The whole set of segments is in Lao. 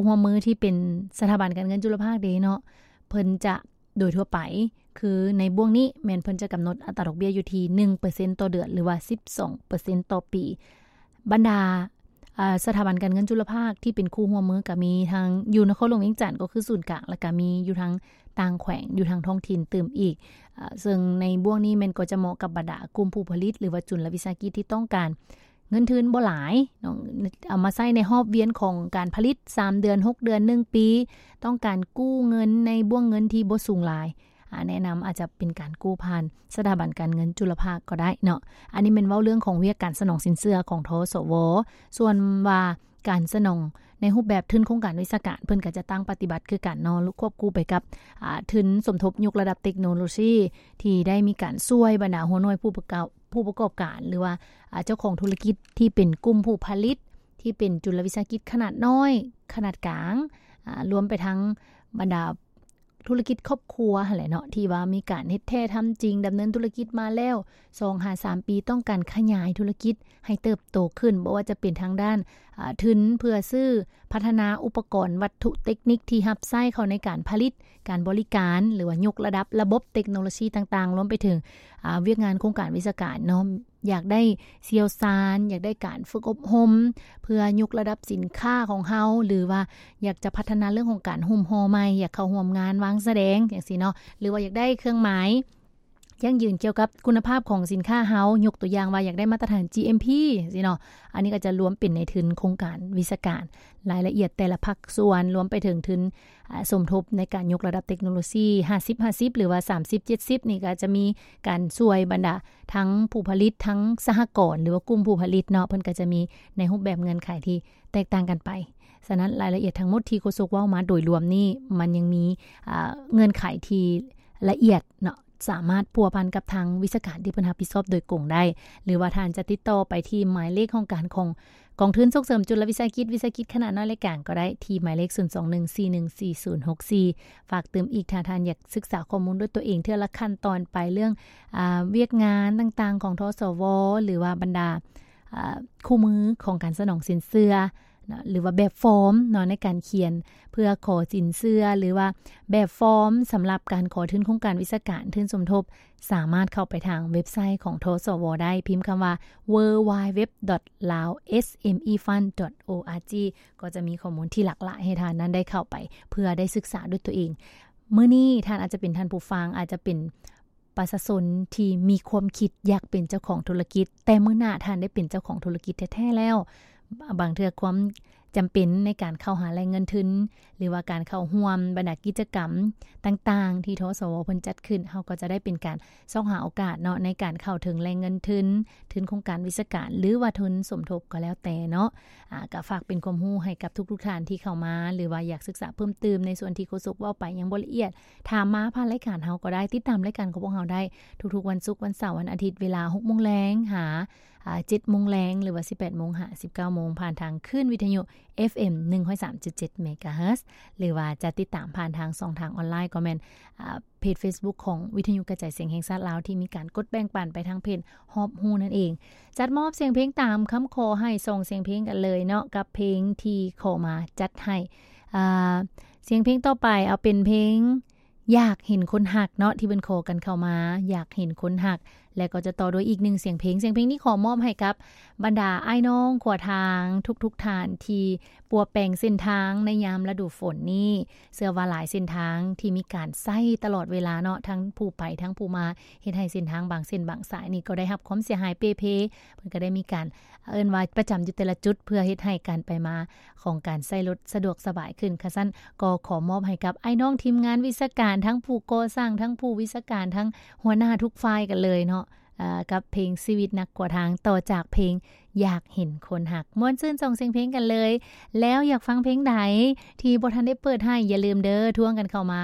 ຮ່ວມມືທີ່ເປັນສະຖາບັນການເງິນຈຸລະພາກເດ້ເນາະ ເພິ່ນຈະ ໂດຍທົ່ວໄປ ຄືໃນບ່ວງນີ້ແມ່ນເພິ່ນຈະກຳນົດອັດຕາດອກເບ້ຍຢູ່ທີ່ໜຶ່ງເປີເຊັນຕໍ່ເດືອນ ຫຼືວ່າສິບສອງເປີເຊັນຕໍ່ປີ. ບັນດາ ເອີ ສະຖາບັນການເງິນຈຸລະພາກທີ່ເປັນຄູ່ຮ່ວມມື ກໍມີທັງຢູ່ນະຄອນຫຼວງວຽງຈັນ ກໍຄືສູນກາງ ແລ້ວກໍມີຢູ່ທາງຕ່າງແຂວງ ຢູ່ທາງທ້ອງຖິ່ນຕື່ມອີກ. ເອີ ເຊິ່ງໃນບ່ວງນີ້ແມ່ນກໍຈະເໝາະກັບບັນດາກຸ່ມຜູ້ຜະລິດ ຫຼືວ່າຈຸນລະວິສາຫະກິດທີ່ຕ້ອງການ ເງິນທຶນບໍ່ຫຼາຍເນາະ ເອົາມາໃຊ້ໃນຮອບວຽນຂອງການຜະລິດສາມເດືອນ ຫົກເດືອນ ໜຶ່ງປີ ຕ້ອງການກູ້ເງິນໃນບ້ວງເງິນທີ່ບໍ່ສູງຫຼາຍ ອາ ແນະນຳອາດຈະເປັນການກູ້ຜ່ານສະຖາບັນການເງິນຈຸລະພາກກໍໄດ້ເນາະ. ອັນນີ້ແມ່ນເວົ້າເລື່ອງຂອງວຽກການສະໜອງສິນເຊື່ອຂອງ ທສວ. ສ່ວນວ່າການສະໜອງໃນຮູບແບບທຶນໂຄງການວິຊາການ ເພິ່ນກໍຈະຕັ້ງປະຕິບັດຄືກັນເນາະ ຄວບຄູ່ໄປກັບ ອາ ທຶນສົມທົບຍົກລະດັບເຕັກໂນໂລຊີ ທີ່ໄດ້ມີການຊ່ວຍບັນດາຫົວໜ່ວຍຜູ້ປະກອບ ຜູ້ປະກອບການ ຫຼືວ່າ ອາ ເຈົ້າຂອງທຸລະກິດທີ່ເປັນກຸ່ມຜູ້ຜະລິດ ທີ່ເປັນຈຸລະວິສາຫະກິດຂະໜາດນ້ອຍ ຂະໜາດກາງ ອາ ລວມໄປທັງບັນດາທຸລະກິດຄອບຄົວຫັ້ນແຫຼະເນາະ ທີ່ວ່າມີການເຮັດແທ້ທຳຈິງ ດຳເນີນທຸລະກິດມາແລ້ວສອງຫາສາມປີ ຕ້ອງການຂະຫຍາຍທຸລະກິດໃຫ້ເຕີບໂຕຂຶ້ນ ບໍ່ວ່າຈະເປັນທາງດ້ານ ອາ ທຶນເພື່ອຊື້ພັດທະນາອຸປະກອນວັດຖຸເຕັກນິກທີ່ຮັບໃຊ້ເຂົ້າໃນການຜະລິດ ການບໍລິການ ຫຼືວ່າຍົກລະດັບລະບົບເຕັກໂນໂລຊີຕ່າງໆ ລວມໄປເຖິງ ອາ ວຽກງານໂຄງການວິຊາການເນາະ ຢາກໄດ້ຊ່ຽວຊານ ຢາກໄດ້ການຝຶກອົບຮົມ ເພື່ອຍົກລະດັບສິນຄ້າຂອງເຮົາ ຫຼືວ່າຢາກຈະພັດທະນາເລື່ອງຂອງການຫຸ້ມຫໍ່ໃໝ່ ຢາກເຂົ້າຮ່ວມງານວາງສະແດງຈັ່ງຊີ້ເນາະ ຫຼືວ່າຢາກໄດ້ເຄື່ອງໝາຍຢັ້ງຢືນກ່ຽວກັບຄຸນນະພາບຂອງສິນຄ້າເຮົາ ຍົກຕົວຢ່າງວ່າຢາກໄດ້ມາດຕະຖານ ຈີເອັມພີ ຈັ່ງຊີ້ເນາະ. ອັນນີ້ກໍຈະລວມເປັນໃນທຶນໂຄງການວິຊາການ ລາຍລະອຽດແຕ່ລະພາກສ່ວນ ລວມໄປເຖິງທຶນ ອາ ສົມທົບໃນການຍົກລະດັບເຕັກໂນໂລຊີ ຫ້າສິບ ຫ້າສິບ ຫຼືວ່າ ສາມສິບ ເຈັດສິບ ນີ້ກໍຈະມີການຊ່ວຍບັນດາທັງຜູ້ຜະລິດ ທັງສະຫະກອນ ຫຼືວ່າກຸ່ມຜູ້ຜະລິດເນາະ ເພິ່ນກໍຈະມີໃນຮູບແບບເງື່ອນໄຂທີ່ແຕກຕ່າງກັນໄປ. ສະນັ້ນ ລາຍລະອຽດທັງໝົດທີ່ໂຄສົກເວົ້າມາໂດຍລວມນີ້ ມັນຍັງມີ ອາ ເງື່ອນໄຂທີ່ລະອຽດເນາະ ສາມາດພົວພັນກັບທາງວິຊາການທີ່ເພິ່ນຮັບຜິດຊອບໂດຍກົງໄດ້ ຫຼືວ່າທ່ານຈະຕິດຕໍ່ໄປທີ່ໝາຍເລກຫ້ອງການຂອງກອງທຶນສົ່ງເສີມຈຸລະວິສາຫະກິດ ວິສາຫະກິດຂະໜາດນ້ອຍ ແລະ ກາງກໍໄດ້ ທີ່ໝາຍເລກ ສູນສອງໜຶ່ງ ສີ່ໜຶ່ງສີ່ ສູນຫົກສີ່. ຝາກຕື່ມອີກ ຖ້າທ່ານຢາກສຶກສາຂໍ້ມູນດ້ວຍຕົວເອງເທື່ອລະຂັ້ນຕອນໄປ ເລື່ອງ ອາ ວຽກງານຕ່າງໆຂອງ ທສວ ຫຼືວ່າບັນດາ ອາ ຄູ່ມືຂອງການສະໜອງສິນເຊື່ອ ເນາະ ຫຼືວ່າແບບຟອມເນາະ ໃນການຂຽນເພື່ອຂໍສິນເຊື່ອ ຫຼືວ່າແບບຟອມສຳລັບການຂໍທຶນໂຄງການວິຊາການ ທຶນສົມທົບ ສາມາດເຂົ້າໄປທາງເວັບໄຊຂອງ ທສວ ໄດ້ ພິມຄຳວ່າ www.laosmefund.org ກໍຈະມີຂໍ້ມູນທີ່ຫຼາກຫຼາຍໃຫ້ທ່ານນັ້ນໄດ້ເຂົ້າໄປ ເພື່ອໄດ້ສຶກສາດ້ວຍຕົວເອງ. ມື້ນີ້ທ່ານອາດຈະເປັນທ່ານຜູ້ຟັງ ອາດຈະເປັນ ປະຊາຊົນທີ່ມີຄວາມຄິດຢາກເປັນເຈົ້າຂອງທຸລະກິດ ແຕ່ມື້ໜ້າທ່ານໄດ້ເປັນເຈົ້າຂອງທຸລະກິດແທ້ໆແລ້ວ ບາງເທື່ອຄວາມຈຳເປັນໃນການເຂົ້າຫາແຫຼ່ງເງິນທຶນ ຫຼືວ່າການເຂົ້າຮ່ວມບັນດາກິດຈະກຳຕ່າງໆທີ່ ທສວ ເພິ່ນຈັດຂຶ້ນ ເຮົາກໍຈະໄດ້ເປັນການຊອກຫາໂອກາດເນາະ ໃນການເຂົ້າເຖິງແຫຼ່ງເງິນທຶນ ທຶນໂຄງການວິຊາການ ຫຼືວ່າທຶນສົມທົບກໍແລ້ວແຕ່ເນາະ. ອາ ກໍຝາກເປັນຄວາມຮູ້ໃຫ້ກັບທຸກໆທ່ານທີ່ເຂົ້າມາ ຫຼືວ່າຢາກສຶກສາເພີ່ມຕື່ມໃນສ່ວນທີ່ໂຄສົກເວົ້າໄປຍັງບໍ່ລະອຽດ ຖາມມາຜ່ານລາຍການເຮົາກໍໄດ້ ຕິດຕາມລາຍການຂອງພວກເຮົາໄດ້ທຸກໆວັນສຸກ ວັນເສົາ ວັນອາທິດ ເວລາຫົກໂມງແລງຫາ ອາ ເຈັດໂມງແລງ ຫຼືວ່າ ສິບແປດໂມງຫາ ສິບເກົ້າໂມງ ຜ່ານທາງຄື້ນວິທະຍຸ ເອັຟເອັມ ໜຶ່ງຮ້ອຍສາມຈຸດເຈັດ ເມກາເຮີດ ຫຼືວ່າຈະຕິດຕາມຜ່ານທາງຊ່ອງທາງອອນລາຍ ກໍແມ່ນ ອາ ເພຈເຟສບຸກຂອງວິທະຍຸກະຈາຍສຽງແຫ່ງຊາດລາວ ທີ່ມີການກົດແບ່ງປັນໄປທາງເພຈຮອບຮູ້ນັ້ນເອງ. ຈັດມອບສຽງເພງຕາມຄຳຂໍໃຫ້ສອງສຽງເພງກັນເລີຍເນາະ ກັບເພງທີ່ຂໍມາຈັດໃຫ້ ອາ ສຽງເພງຕໍ່ໄປເອົາເປັນເພງ ຢາກເຫັນຄົນຮັກເນາະ ທີ່ເພິ່ນຂໍກັນເຂົ້າມາ ຢາກເຫັນຄົນຮັກ ແລະ ກໍຈະຕໍ່ດ້ວຍອີກໜຶ່ງສຽງເພງ. ສຽງເພງນີ້ຂໍມອບໃຫ້ກັບບັນດາອ້າຍນ້ອງຂວາທາງທຸກໆທ່ານ ທີ່ປົວແປງເສັ້ນທາງໃນຍາມລະດູຝົນນີ້. ເຊື່ອວ່າຫຼາຍເສັ້ນທາງທີ່ມີການໃຊ້ຕະຫຼອດເວລາເນາະ ທັງຜູ້ໄປທັງຜູ້ມາ ເຮັດໃຫ້ເສັ້ນທາງບາງເສັ້ນບາງສາຍນີ້ກໍໄດ້ຮັບຄວາມເສຍຫາຍເປ່ເພ. ເພິ່ນກໍໄດ້ມີການ ເອີ້ນວ່າປະຈຳຢູ່ແຕ່ລະຈຸດ ເພື່ອເຮັດໃຫ້ການໄປມາຂອງການໃຊ້ລົດສະດວກສະບາຍຂຶ້ນ. ຄັນຊັ້ນກໍຂໍມອບໃຫ້ກັບອ້າຍນ້ອງທີມງານວິຊາການ ທັງຜູ້ກໍ່ສ້າງ ທັງຜູ້ວິຊາການ ທັງຫົວໜ້າທຸກຝ່າຍກັນເລີຍເນາະ ອາ ກັບເພງຊີວິດນັກກວາທາງ ຕໍ່ຈາກເພງຢາກເຫັນຄົນຮັກ. ມ່ວນຊື່ນສອງສຽງເພງກັນເລີຍ. ແລ້ວຢາກຟັງເພງໃດທີ່ບໍ່ທັນໄດ້ເປີດໃຫ້ ຢ່າລືມເດີ ທວງກັນເຂົ້າມາ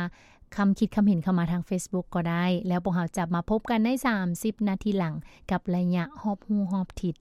ຄຳຄິດຄຳເຫັນເຂົ້າມາທາງເຟສບຸກກໍໄດ້ ແລ້ວພວກເຮົາຈະມາພົບກັນໃນສາມສິບນາທີຫຼັງ ກັບໄລຍະຮອບຮູ້ຮອບທິດ